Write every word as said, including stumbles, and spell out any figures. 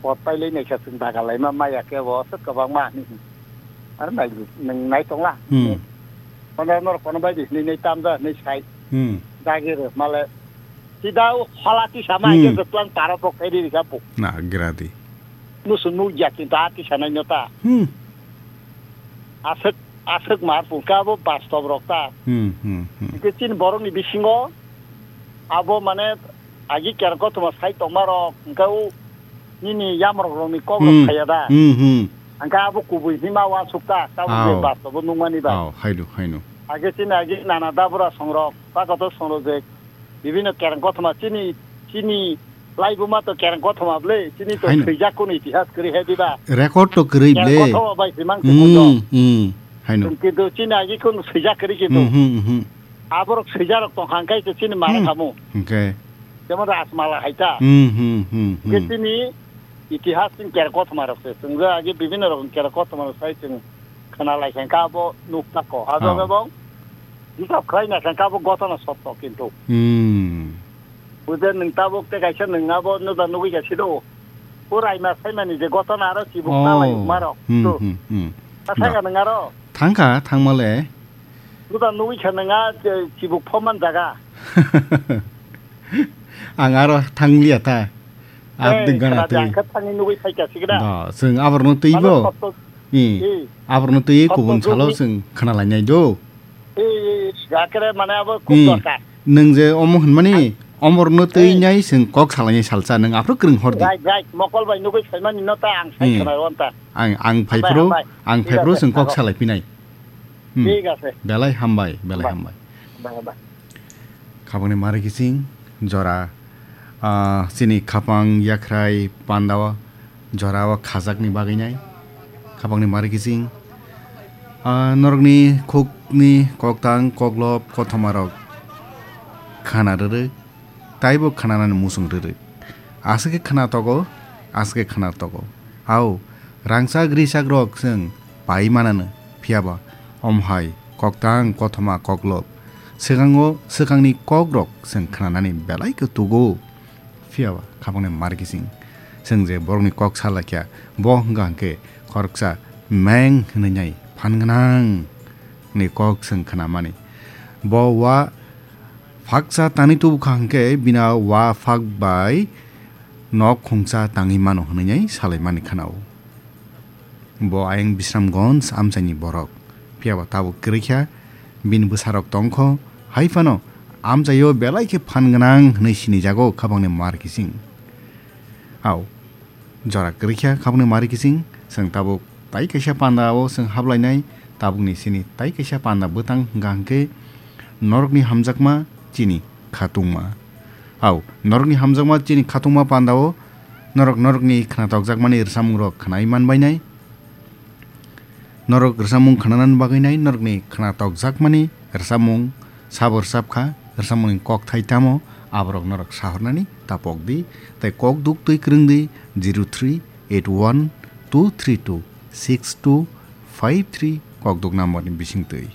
Pot pailai naikha chwng daga laima maya khe bo aswk kwbangma hinwi. Ar nai nwng nai tongla. Hmm. Kono norok kono bai di hinwi nai tamja hinwi sai. Hmm. Dagi rw male. Sida o hola tisa ma Hmm. Hingke twlang taro pok khe ri rikha po. Na gradi. Musu nukya kintu a tisa nai nota. Hmm. Aswk, aswk mar pungka abo bastob rok ta. Hmm, hmm, hmm. Hingke chini borokni bisingo abo mane agi kereng kothoma sai tongma rok hingke o nini yamrok rokni kok rok Hmm. Khaya da. Hmm, hmm. Hingke abo kubui hima uansuk ta, tabuk je Ao. Bastobo nukmani ba. Ao, haino, haino. Age chini agi nana dabura songrok, pakoto songrok je bibino kereng kothoma chini, chini laibuma to kereng kothoma ble, chini to Haino. Swijak kono itihas kwrwi he diba. Record to kwrwi Kereng ble. Kothoma bai simang se Hmm, kundo. Hmm. Haino. Kintu chini agi kono swijak kwrwi kintu. Hmm, hmm, hmm. Aborok swijarok tongkha hingke se chini mara Hmm. Khamu. Hingke. Jemon Rajmala hai ta. Hmm, hmm, hmm, Hingke hmm. Chini itihas chini kereng kothoma rok se. Chwng je agi bibino rok kereng kothoma rok sai chwng khna lai khe abo nuk tako. Abo Oh. Khe bo hisab khlai na khe abo gotona sotto kintu. Hmm. Bujhe nwng tabuk te kaisa nwng abo nuda nugwi kha sido. Purai ma saimani je gotona aro chibuk Oh. Talai maro. Hmm, To. Hmm, hmm. Asai Da. Ka nwng aro. Thangkha, thangmale. Nuda nugwi kha nwng a, je, chibuk phoman jaga. Ang aro thangliya ta. Abdi Eh, gana khna twi. Ang kha thangwi nugwi phaikha sikda. Da, chwng aborno twi Mano bo. Sotto. I, I. Aborno twi Sotto kubun salo jugni. Chwng khna lainai do. I, I, I, akere mane abo kub Hmm. Dorkar. Nwng je omo hwnmani, Ang omorno twi Ei. Nai chwng kok salainai salsa, nwng aphuru kwrwng hor di. Right, right. Mokol bai nugwi phaimani no ta ang sai Hmm. Khna wan ta. Ang, ang Hambai, phaipro, hambai. Ang Thik phaipro ache, chwng kok thago. Salaipinai. Hmm. Thik ache. Belai hambai, belai Hambai. Hambai. Hambai, hambai. Khabangni mari kising jora, ah, chini khapang yakhrai pandao jorao khajakni bagwi nai. Khapangni mari kising, ah, norokni khukni koktang koklop kothomarok khana rwrwk. Taibo khnanani muchung rwrwk. Aswk khe khna togo, aswk khe khna togo. Ao, rangchak richakrok chwng pai mananw, phiyaba omo hai koktang kothoma koklop. Swkango swkangni kokrok chwng khnanani belai khe tugo. Phiyaba khapangni mari kising. Chwng je borokni kok sa laikha, bo hwnkha hwnkhe khoroksa meng hwnwi nai phan gwnang ni kok chwng khnamani. Bo wa Phaksa tangwi tubu kha hwnkhe bini wa phak bai nok khungsa tangwi mano hwnwi salaimani khna-o. Bo ayang Bisramganj amchaini borok, phiyaba tabuk kwrwi kha, bini bwsarok tong kho, hai phano amchaio belai khe phan gwnang hwnwi sinijago khapangni mar kising. Ao. Jora kwrwi kha khapangni mari kising, chwng tabuk tai kaisa panda o chwng hablainai, tabukni chini tai kaisa panda bwtang hwnkha hwnkhe norokni hamjakma chini khatungma. Ao, norokni hamjakma chini khatungma panda o norok norokni khnatok jakmani rwchapmung rok khnai manbainai. Norok rwchapmung khnanani bagwi nai norokni khnatok jakmani rwchapmung sabo rwchap kha, rwchapmungni kokthai tamo aborok norok sahornani tapok di, tei kok duk twi kwrwng di zero three eight one two three two six two five three kokduk number ni bising twi.